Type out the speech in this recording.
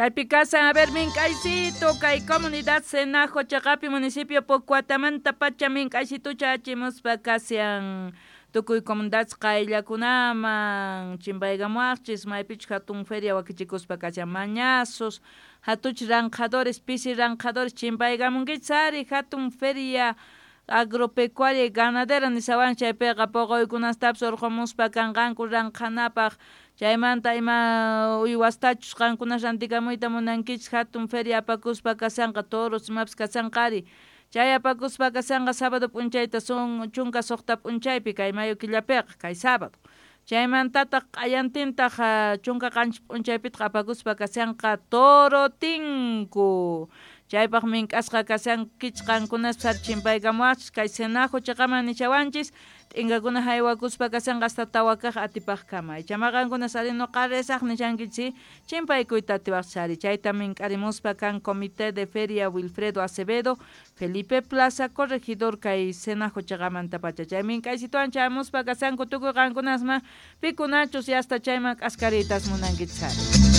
Kaypi kasan, a ver, mink'aysito, kay comunidad Senajo chaqapi municipio Pocuatamanta pacha mink'aysitucha achimuspa kasian tukuy comunidad qayllakunaman chimpaykamuwaqchis maypichus hatun feria wakichikuspa kashan mañazos hatuch ranqhadores pisi ranqhadores chimpaykamunkichis ari hatun feria agropecuaria y ganadera nishawan chaypiqa poqoykunastapis urqumuspa kanqanku ranqhanapaq chaymanta ima uywastachus qankuna rantikamuyta munankichis hatun feria apakuspa kashanqa toros imapis kashanqa ari chay apakuspa kashanqa sábado p'unchayta son 16 p'unchaypi kay mayo killapiqa kay sábado chaymantataq q'ayantintaq 17 p'unchaypitaq apakuspa kashanqa toro tinku chaypaq mink'asqa kashankichis qankunaspas ari chimpaykamuwaqchis kay Senajo chaqaman nishawanchis t'inkakuna haywakuspa kashanqa hasta 4 kaq atipaqkama ichama qankunas ari nuqa risaq nishankichis chimpaykuyta atiwaqchis ari chayta mink'arimuspa kan Comité de Feria Wilfredo Acevedo Felipe Plaza corregidor kay Senajo chaqamantapacha chay mink'aysituwan chayamuspa kashanku tukuy qankunasma pikunachus yasta chayman k'askariytas munankichis ari.